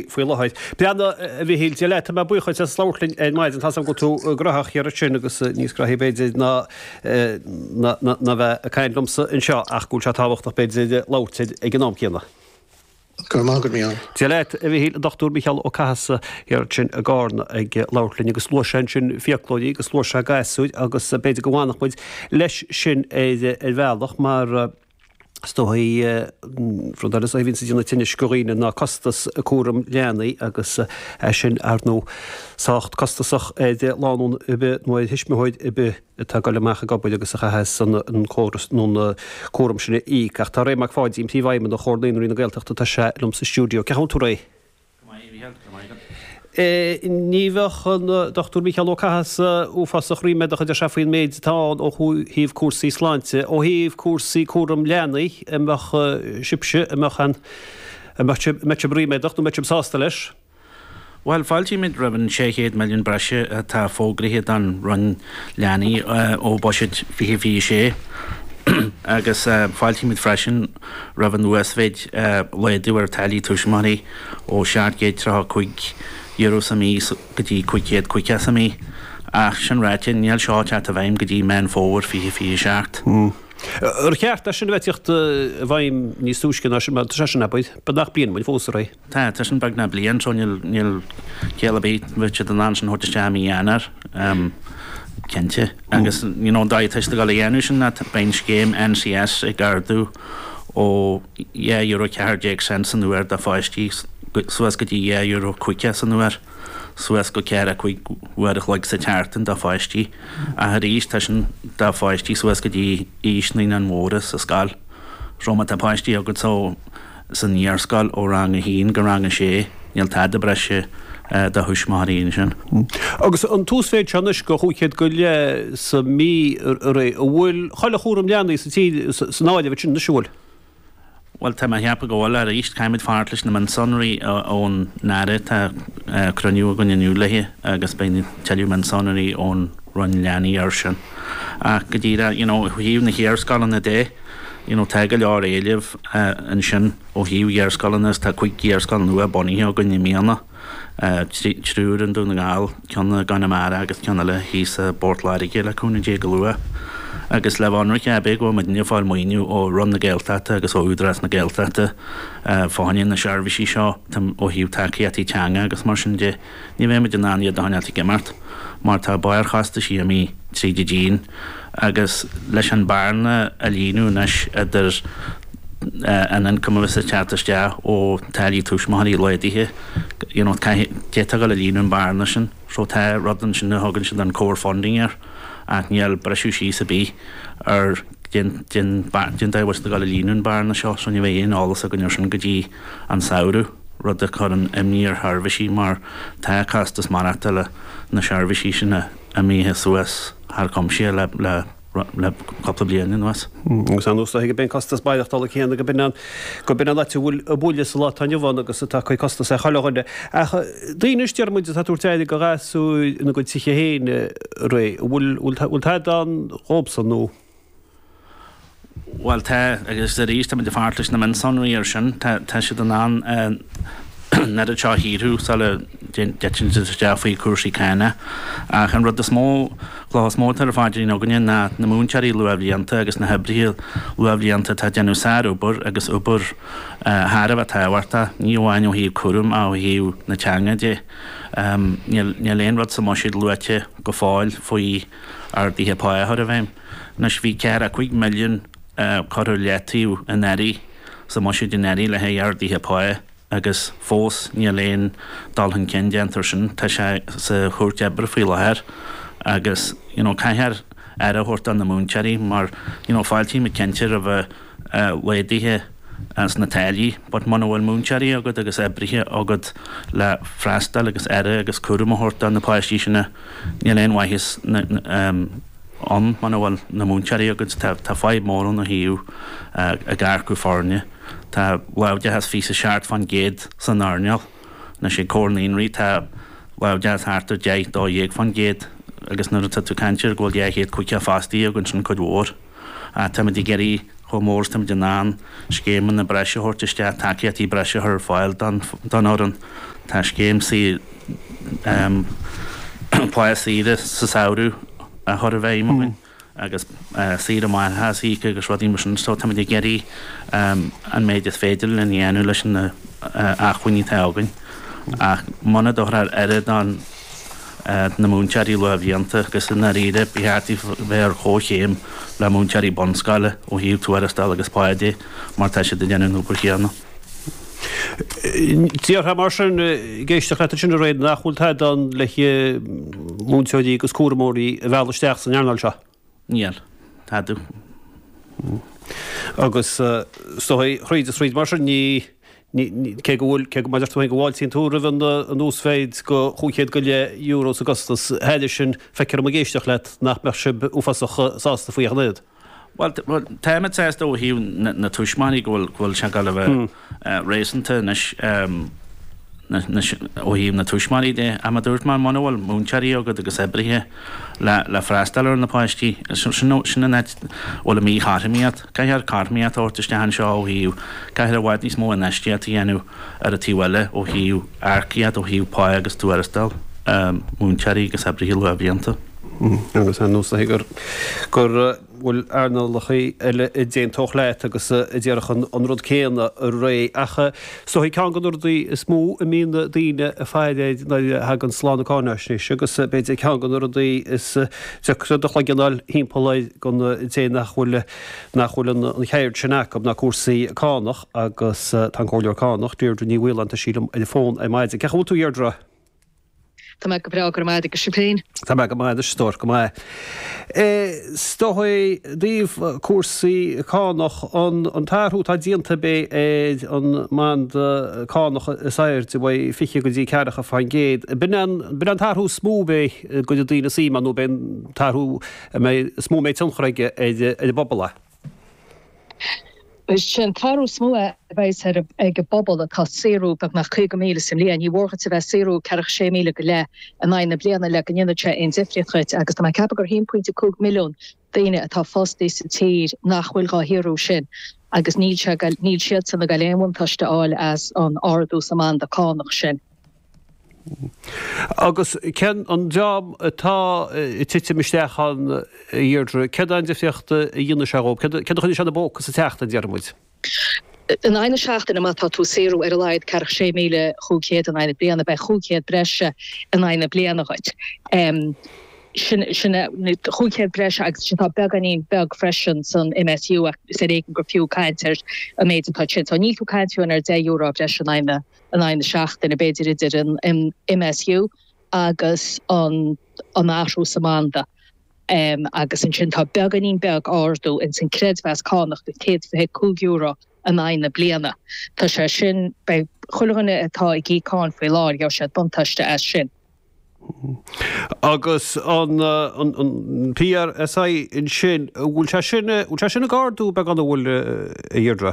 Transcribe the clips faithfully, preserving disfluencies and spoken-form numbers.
faoi láthair. Breathnaigh, a Mhichíl, Dia leat, tá mé buíoch as labhairt linn ar maidin, tá 's agam go bhfuil tú gnóthach thiar ansin agus níos gnóthaí b'fhéidir ná ná bheith ag caint liomsa anseo ach go bhfuil sé tábhachtach b'fhéidir labhairt ag an am céanna. Go raibh maith agat, Mícheál. Dia leat, a Mhichíl, an Dochtúir Micheál Ó Cathasaigh thiar ansin i gCarna ag labhairt linn agus luaigh sé ansin fiaclóirí agus luaigh sé gasúir agus b'fhéidir go bhfanfadh muid leis sin ar ar bhealach mar Is dóigh, rud eile is dóigh a bhíonns ag déanamh tinnis do dhaoine ná costas cúram leanaí agus é sin, ar ndóigh, sách costasach ar lánúin ar bith nó ar thuismitheoir ar bith atá ag dul amach ag obair agus a chaitheas an córas nó an cúram sin a íoc. Ach tá Ray Mac Pháidín, Príomhfheidhmeannach Chomhar Naíonraí na Gaeltachta, tá sé liom sa stiúideo. Cén chaoi a bhfuil tú, Ray? Go maith, a Mhícheáil, go raibh maith agat. Ní bheadh an Dochtúir Mícheál Ó Cathasaigh uafásach ríméadach, a deir sé, faoin méid atá ann ó thaobh cúrsaí sláinte. Ó thaobh cúrsaí cúram leanaí, an mbeadh sibhse, an mbeadh an, an mbeadh sibh, an mbeadh sibh ríméadach nó an mbeadh sibh sásta leis? Bhuel, fáiltímid roimh an sé chéad milliún breise atá fógraithe don Roinn Leanaí ó Bhuiséad fiche fiche sé. Agus fáiltímid freisin roimh an uasmhéid laghdú ar táillí tuismitheoirí ó seacht gcéad tríocha cúig euro sa mhí go dtí cúig chéad caoga sa mhí. Ach sin ráite, níl seo ag teacht i bhfeidhm go dtí Meán Fómhair fiche fiche seacht. Ar cheart é sin a bheith ag teacht i bhfeidhm níos túisce ná sin, mar tá sé sin, abair, beagnach bliain uainn fós, a Ray. Tá, tá sin beagnach bliain, so níl, níl ciall ar bith, bheadh siad in ann sin a thabhairt isteach i mí Eanáir, cinnte. Agus, you know, an dóigh atá siad ag dul a dhéanamh sin ná beidh an scéim N C S ag ardú ó dhá euro ceathair déag cent san uair do pháistí suas go dtí dhá euro caoga san uair, suas go ceathracha cúig uair a chloig sa tseachtain do pháistí. Ach arís, tá sin do pháistí suas go dtí aois naíonáin mhóra sa scoil. So má tá páistí agat so san iarscoil ó rang a haon go rang a sé, níl tada breise do thuismitheoirí ansin. Agus an t-uasmhéid seo anois go chúig chéad go leith sa mhí, a Ray, an bhfuil chuile chúram leanaí sa tír san áireamh ansin anois, an bhfuil? Bhuel, tá mé a cheapadh go bhfuil. Arís, caithfimid fanacht leis na mionsonraí ón Aire. Tá cruinniú againn inniu léi agus beidh tuilleadh mionsonraí ón Roinn Leanaí air sin. Ach go díreach, you know, ó thaobh na hiarscoileanna de, you know, tá go leor éilimh ansin ó thaobh iarscoileanna agus tá cúig iarscoil nua bunaithe againn i mbliana. Triúr i nDún na nGall, ceann i gConamara agus ceann eile thíos i bPort Láirge le cúnamh Dé go luath. Agus le bheith ionraic, b'é go bhfuil muidne ag fáil maoiniú ó Roinn na Gaeltachta agus ó Údarás na Gaeltachta fá choinne na seirbhísí seo ó thaobh tacaíochtaí teanga agus mar sin de, ní bheidh muid in ann iad a choinneáilt ag imeacht mar tá barrchostaisí imithe tríd an díon agus leis an bearna a líonadh anois idir an ioncam a bheas ag teacht isteach ó táillí tuismitheoirí laghdaithe, you know, caithfidh, d'fhéadfá a dhul a líonadh an bearna sin. So tá rud ansin a thugann siad an core funding air ach níl briseadh síos ar bith ar cén cén cén dóigh a bhfuil siad ag dul a líonadh an bearna seo so ní bheidh aon eolas againn ar sin go dtí an samhradh, rud a chuireann imní ar sheirbhísí mar tá costas maireachtála na seirbhísí sin imithe suas thar cuimse le le le cúpla bliain anuas. Agus ar ndóigh gurb é an costas maireachtála céanna gurb in an gurb in an áit a bhfuil an buille sa lá atá inniu ann agus atá ag cur costas ar chuile dhuine. Ach daoine anois deir muid atá ag tabhairt aire do ghasúir ina gcuid tithe féin, a Ray, an bhfuil bhfuil tada ann dhóibhsan nó? Bhuel tá, agus arís táimid ag fanacht leis na mionsonraí air sin. Tá tá siad in ann an oiread seo a shaothrú sula dtiteann siad isteach faoi chúrsaí cánach. Ach an rud is mó, cloch is mó atá ar an phaidrín againne ná na múinteoirí luathbhlianta agus na hoibrithe luathbhlianta atá ag déanamh sárobair agus obair thar a bheith tábhachtach, ní amháin ó thaobh cúraim ach ó thaobh na teanga de. Níl níl aon rud sa mbuiséad luaite go fóill faoi arduithe pá a chur i bhfeidhm. Anois bhí ceathracha cúig milliún curtha ar leataobh anuraidh sa mbuiséad anuraidh le haghaidh arduithe pá agus fós níl aon dul chun cinn déanta ar sin. Tá sé sa chúirt oibre faoi láthair agus you know caithfear aire a thabhairt do na múinteoirí mar you know fáiltímid cinnte roimh laghduithe sna táillí but muna bhfuil múinteoirí agat agus oibrithe agat le freastal agus aire agus cúram a thabhairt do na páistí sin níl aon mhaitheas ann muna bhfuil na múinteoirí agat. Tá tá fadhb mór ann ó thaobh ag earcú foirne. Tá láimhdeachas fiche seacht fán gcéad san earnáil. Anois ag Comhar Naíonraí tá láimhdeachas thart ar deich, dó dhéag fán gcéad agus nuair atá tú ag caint ar go bhfuil dhá chéad caoga fostaí againn sin cuid mhór. Táimid ag iarraidh chomh mór is táimid in ann scéimeanna breise a thabhairt isteach, tacaíochtaí breise a chur ar fáil don fhoireann. Tá scéim pá saoire sa samhradh á chur i bhfeidhm againn agus saoire máithreachais a íoc agus rudaí mar sin so táimid ag iarraidh an méid is féidir linn a dhéanamh leis na acmhainní atá againn. Ach muna dtabharfar oiread don na múinteoirí luathbhlianta agus i ndáiríre ba cheart bheith ar chomhchéim le múinteoirí bunscoile ó thaobh tuarastail agus pá de mar tá siad ag déanamh an obair chéanna. Déarfá mar sin, ag éisteacht leat ansin a Ray, nach bhfuil tada ann le múinteoirí agus cúramóirí a mhealladh isteach san earnáil seo? Níl. Tada. Agus is dóigh, thríd is thríd mar sin, ní, cé go bhfuil, cé go, mar a deir tú féin, go bhfáiltíonn tú roimh an uasmhéid go chúig chéad go leith euro sa gcostas, thairis sin, feictear dom ag éisteacht leat nach mbeadh sibh uafásach sásta faoi ach an oiread. Bhuel, táimid sásta ó thaobh na tuismitheoirí go bhfuil, go bhfuil sé ag dul a bheith réasúnta anois ó thaobh na tuismitheoirí de. Ach mar a dúirt mé, muna bhfuil múinteoirí agat agus oibrithe le le freastal ar na páistí, sin sin an áit a bhfuil an mhíchothromaíocht. Caithfear cothromaíocht a thabhairt isteach anseo ó thaobh, caithfear i bhfad níos mó infheistíocht a dhéanamh ar an taobh eile ó thaobh earcaíocht, ó thaobh pá agus tuarastal múinteoirí agus oibrithe luathbhlianta. Agus ar nós gur gur bhfuil earnálacha eile a d'aontódh leat agus a déarfadh an rud céanna a Ray. Ach is dóigh ceann de na rudaí is mó a mbíonn daoine ag faire air nuair a thaganns lá na cáinaisnéise agus b'fhéidir ceann de na rudaí is deacra do chloigeann a fháil thimpeall air don té nach bhfuil nach bhfuil an cheird sin acu ná cúrsaí cánach agus tá an Comhairleoir Cánach, Deirdre Ní Mhaoláin, tá sí liom ar an bhfón ar maidin. Cén chaoi a bhfuil tú a Dheirdre? Tá mé go breá, go raibh maith agat, agus sibh féin? Tá mé go maith anois, a stór, go maith. Is dóigh, i dtaobh cúrsaí cánach, an an t-athrú atá déanta ab é ar an mbanda cánach is airde, uaidh fiche go dtí ceathracha faoin gcéad, b'in an b'in an t-athrú is mó ab é go gcuirfidh daoine suim ann nó b'é an t-athrú a mbeidh is mó a mbeidh tionchar aige ar ar an bpobal é? Is é an t-athrú is mó a bheas ag an bpobal atá ag saothrú beagnach caoga míle sa mbliain. Ní mhór dhuit a bheith ag saothrú ceathracha sé míle go leith in aghaidh na bliana le go ndéanfadh sé aon difríocht dhuit agus tá mé ag ceapadh gur haon pointe cúig milliún daoine atá fostaithe sa tír nach bhfuil dhá shaothrú sin agus níl sé níl siadsan ag dul aon bhuntáiste a fháil as an ardú sa mbanda cánach sin. Agus cén an dream atá ag titim isteach ann, a Dheirdre, céard é an difríocht a dhéanfaidh sé dhóibh? Céard a choinneoidh sé ina bpóca sa tseachtain, déarfaidh muid? In aghaidh na seachtaine, má tá tú ag saothrú ar a laghad ceathracha sé míle chúig chéad in aghaidh na bliana, beidh chúig chéad breise in aghaidh na bliana dhuit. Sin sin chúig chéad breise agus sin tá beagáinín beag freisin san MSU ach is ar éigean gur fiú caint ar an méid atá sin. So níl tú ag caint fiú ar deich euro breise in aghaidh na in aghaidh na seachtaine, b'fhéidir idir an MSU agus an athrú sa mbanda. Agus ansin tá beagáinín beag ardú ins an creidmheas cánach go céad fiche cúig euro in aghaidh na bliana. Tá sé sin, beidh chuile dhuine atá ag íoc cáin faoi láthair, gheobhaidh siad buntáiste as sin. Agus an PRSI ansin, an bhfuil sé sin, an bhfuil sé sin ag ardú beagán, an bhfuil, a Dheirdre?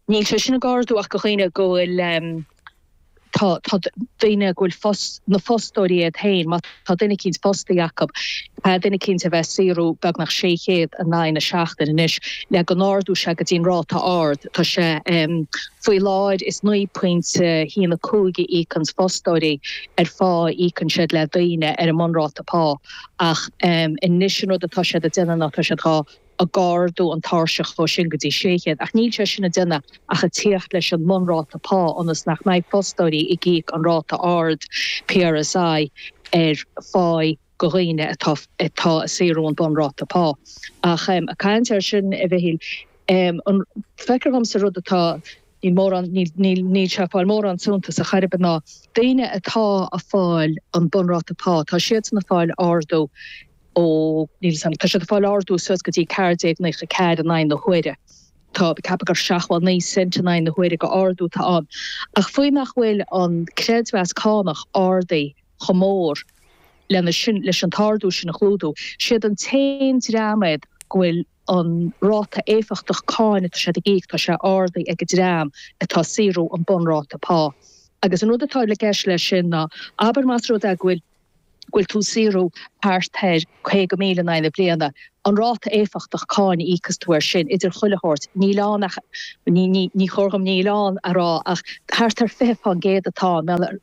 Níl sé sin ag ardú ach do dhaoine go bhfuil tá tá daoine go bhfuil fos na fostóirí iad féin, má tá duine eicínt fostaithe acu, tá duine eicínt a bheith ag saothrú beagnach sé chéad in aghaidh na seachtaine anois le go n-ardódh sé go dtí an ráta ard. Tá sé faoi láthair is naoi pointe haon a cúig a íocanns fostóirí ar phá a íocann siad le daoine ar an mbunráta pá ach anois an rud atá siad ag déanamh ná tá siad dhá ag ardú an tairseach ó sin go dtí sé chéad, ach níl sé sin ag déanamh ach ag tíocht leis an mbunráta pá ionas nach mbeidh fostóirí ag íoc an ráta ard PRSI ar pháí go dhaoine atá atá ag saothrú an bunráta pá. Ach ag caint air sin, a Mhichíl, an feictear dhomsa rud atá níl mórán níl níl níl sé ag fáil mórán suntais ar chor ar bith ná daoine atá ag fáil an bunráta pá, tá siadsan ag fáil ardú ó, níl 'fhios a'm, tá siad ag fáil ardú suas go dtí ceathair déag naocha ceathair in aghaidh na huaire. Tá, ceapaim gur seachtó naoi cent in aghaidh na huaire go ardú atá ann. Ach faoi nach bhfuil an creidmheas cánach ardaithe chomh mór lena sin, leis an t-ardú sin a chlúdú, siad an t-aon dream iad go bhfuil an ráta éifeachtach cáin atá siad ag íoc, tá sé ardaithe ag an dream atá ag saothrú an bunráta pá. Agus an rud atá i gceist leis sin ná, abair más rud é go bhfuil, go bhfuil tú ag saothrú thart ar caoga míle in aghaidh na bliana, an ráta éifeachtach cáin a íocas tú air sin idir chuile shórt, níl ann ach, ní, ní, ní chóir dhom níl ann a rá ach thart ar fiche fán gcéad atá ann, mar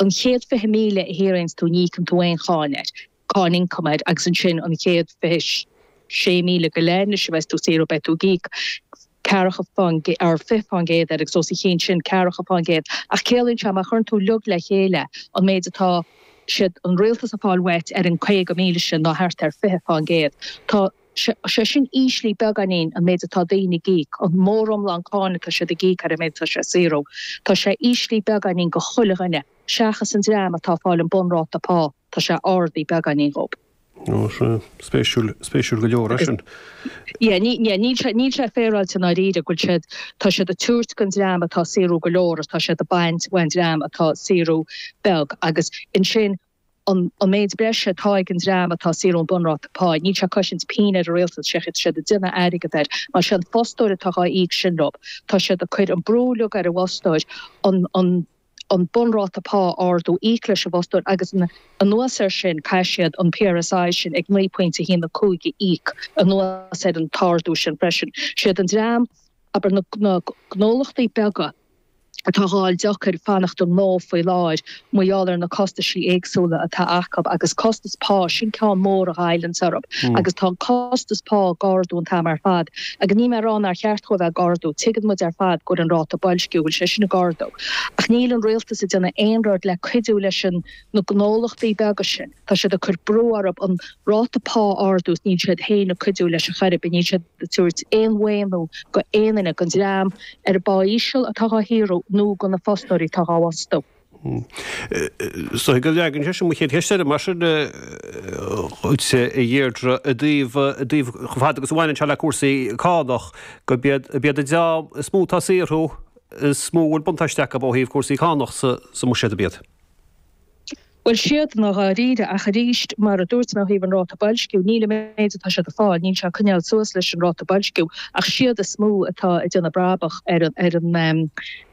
an chéad fiche míle a shaothraíonns tú ní íocann tú aon cháin air, cáin ioncaim air agus ansin an chéad fiche sé míle go leith anois a bheas tú ag saothrú beidh tú ag íoc ceathracha fán or fiche fán gcéad air agus os a chionn sin ceathracha fán gcéad ach ciallaíonn sé má chuireann tú uilig le chéile an méid atá siad an rialtas ag fáil uait ar an caoga míle sin ná thart ar fiche fán gcéad. Tá sé sin íslithe beagáinín an méid atá daoine ag íoc, an móriomlán cáin atá siad ag íoc ar an méid atá sé ag saothrú. Tá sé íslithe beagáinín go chuile dhuine seachas an dream atá ag fáil an bunráta pá, tá sé ardaithe beagáinín dhób. Ó, sea. Spéisiúil, spéisiúil go leor é sin. Yeah, ní, yeah, níl sé, níl sé féaráilte i ndáiríre go bhfuil siad, tá siad ag tabhairt don dream atá ag saothrú go leor agus tá siad ag baint ón dream atá ag saothrú beag agus ansin an, an méid breise atá ag an dream atá ag saothrú an bunráta pá, níl sé ag cosaint pingin ar an rialtas, sé tá siad ag déanamh airgead air, mar sé an fostóir atá dhá íoc sin leo, tá siad ag cur an brú uilig ar an bhfostóir an, an, an bunráta pá a ardú, íoc leis an bhfostóir agus anuas air sin caithfidh siad an P R S I sin ag naoi pointe a haon a cúig a íoc anuas ar an t-ardú sin freisin. Siad an dream, abair na gnólachtaí beaga, atá á fháil deacair fanacht i ngnó faoi láthair mar gheall ar na costaisí éagsúla atá acu agus costas pá, sin ceann mór a ghoilleanns orthu agus tá an costas pá ag ardú an t-am ar fad agus níl mé ag rá nár cheart dhó a bheith ag ardú, tuigeann muid ar fad go bhfuil an ráta boilsciú, bhfuil sé sin ag ardú ach níl an rialtas ag déanamh aon rud le cuidiú leis an na gnólachtaí beaga sin, tá siad ag cur brú orthu an ráta pá a ardú is níl siad féin ag cuidiú leis ar chor ar bith, níl siad ag tabhairt aon mhaoiniú go aon duine, don dream ar an bpá íseal atá dhá shaothrú nó do na fostóirí atá dhá bhfostú. So go leagann sé sin mo chéad cheist eile mar sin dhuit, a Dheirdre, i dtaobh i dtaobh chomh fada agus a bhaineann sé le cúrsaí cánach, go b'iad b'iad an dream is mó atá ag saothrú is mó a bhfuil buntáiste acu ó thaobh cúrsaí cánach sa sa mbuiséad ab iad. Bhuel, siad i ndáiríre, ach arís, mar a dúirt mé ó thaobh an ráta boilsciú, níl an méid atá siad ag fáil, níl sé ag coinneáil suas leis an ráta boilsciú, ach siad is mó atá ag déanamh brabach ar an ar an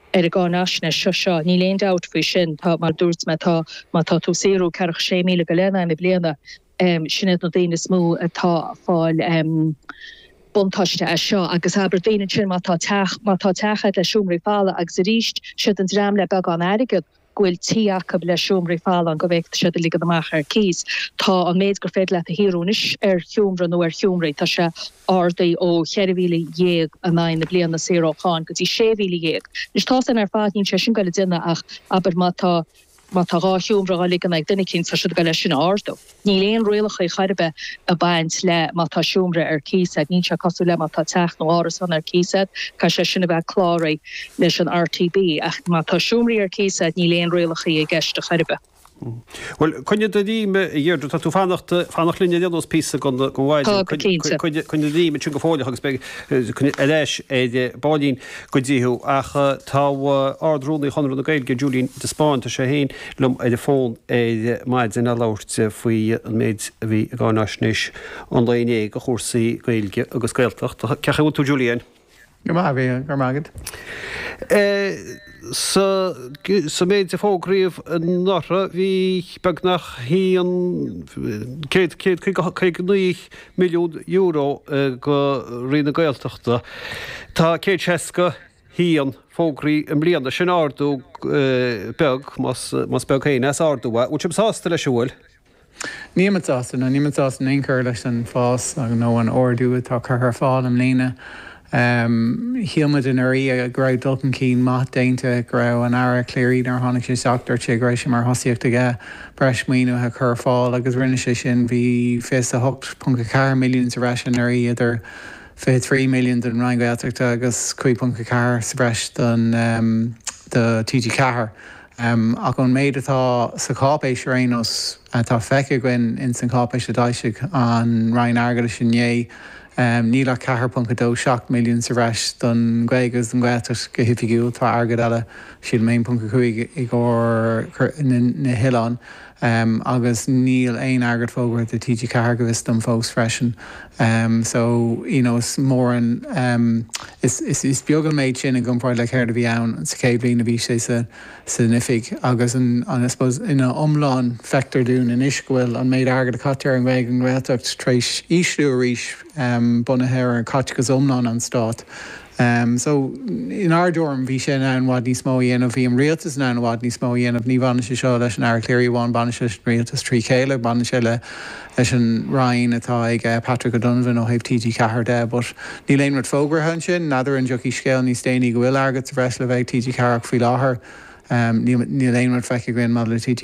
ar an gcáinaisnéis seo seo. Níl aon dabht faoi sin. Tá, mar a dúirt mé, tá, má tá tú ag saothrú ceathracha sé míle go leith in aghaidh na bliana, sin iad na daoine is mó atá ag fáil buntáiste as seo. Agus abair daoine ansin má tá teach, má tá teach agat le seomraí folamh agus arís, siad an dream le beagán airgead, go bhfuil tí acu le seomraí folamh ann go bhféadfadh siad a ligean amach ar cíos. Tá an méid gur féidir leat a shaothrú anois ar sheomra nó ar sheomraí, tá sé ardaithe ó cheithre mhíle dhéag in aghaidh na bliana saor ó cháin go dtí sé mhíle dhéag. Anois tá san ar fad, níl sé sin ag goil a déanamh ach abair má tá má tá dhá sheomra á ligean ag duine eicínt tá siad ag goil é sin a ardú. Níl aon rialacha chor ar bith ag baint le má tá seomra ar cíos agat, níl sé cosúil le má tá teach nó árasán ar cíos agat, caithfidh sé sin a bheith cláraithe leis an R T B, ach má tá seomraí ar cíos agat níl aon rialacha i gceist chor ar bith. Bhuel, coinnigh do dhroim, a Dheirdre, tá tú fanacht fanacht linn ar aon nós píosa den den mhaidin. Tá, go cinnte. Coinnigh do dhroim ansin go fóilleach agus beidh ar ais ar baillín go dtí thú. Ach tá Ard-Rúnaí Chonradh na Gaeilge, Julian de Spáinn, tá sé féin liom ar an bhfón ar maidin ag labhairt faoi an méid a bhí i gcáinaisnéis an lae inné do chúrsaí Gaeilge agus Gaeltachta. Cén chaoi a bhfuil tú, Julian? Go maith, bhí go maith agat. Sa sa méid a fógraíodh anuraidh bhí beagnach haon céad céad caoga naoi milliún euro go Roinn na Gaeltachta. Tá céad seasca haon fógraithe i mbliana, sin ardú beag, más más beag féin é, is ardú é. Bhfuil sibh sásta leis an bhfuil? Níl sásta nó níl sásta in aon chor leis an fás nó an ardú atá curtha ar fáil i mbliana. Shíl muid anuraidh go raibh dul chun cinn maith déanta, go raibh an Aire Cleary nuair a tháinig sé isteach dúirt sé go raibh sé mar thosaíocht aige breis maoinithe a chur ar fáil agus rinne sé sin. Bhí fiche a hocht ponc a ceathair milliún sa bhreis anuraidh idir fiche trí milliún don Roinn Gaeltachta agus cúig ponc a ceathair sa bhreis don do T G ceathair. Um, ach an méid atá sa cháipéis ar aon nós atá feicthe againn in san cháipéis a d'fhoilsigh an Roinn Airgeadais inné. Níl ach ceathair ponc a dó seacht milliún sa bhreis don Ghaeilge agus don Ghaeltacht go hoifigiúil. Tá airgead eile, sílim aon ponc a cúig i gcomhair na hoileáin agus níl aon airgead fógartha do T G ceathair go bhfios dom fós freisin. So, you know, is mór an, is, is beag an méid sin i gcomparáid le céard a bhí ann sa chéad bhliain a bhí sé sa, san oifig agus an, an, I suppose, ina iomlán feictear dúinn anois go bhfuil an méid airgead a caitear ar an Ghaeilge an Ghaeltacht tar éis ísliú arís bunaithe ar chaiteachas iomlán an Stáit. So, inár dtuairim, bhí sé in ann i bhfad níos mó a dhéanamh, bhí an rialtas in ann i bhfad níos mó a dhéanamh. Ní bhaineann sé seo leis an Aire Cleary amháin, baineann sé leis an rialtas trí chéile, baineann sé le leis an Roinn atá ag Patrick O'Donovan ó thaobh T G ceathair de. But níl aon rud fógartha ansin, n'fheadar an dtiocfaidh scéal níos déanaí go bhfuil airgead sa bhreis le bheith ag T G ceathair ach faoi láthair níl aon rud feicthe againn maidir le T G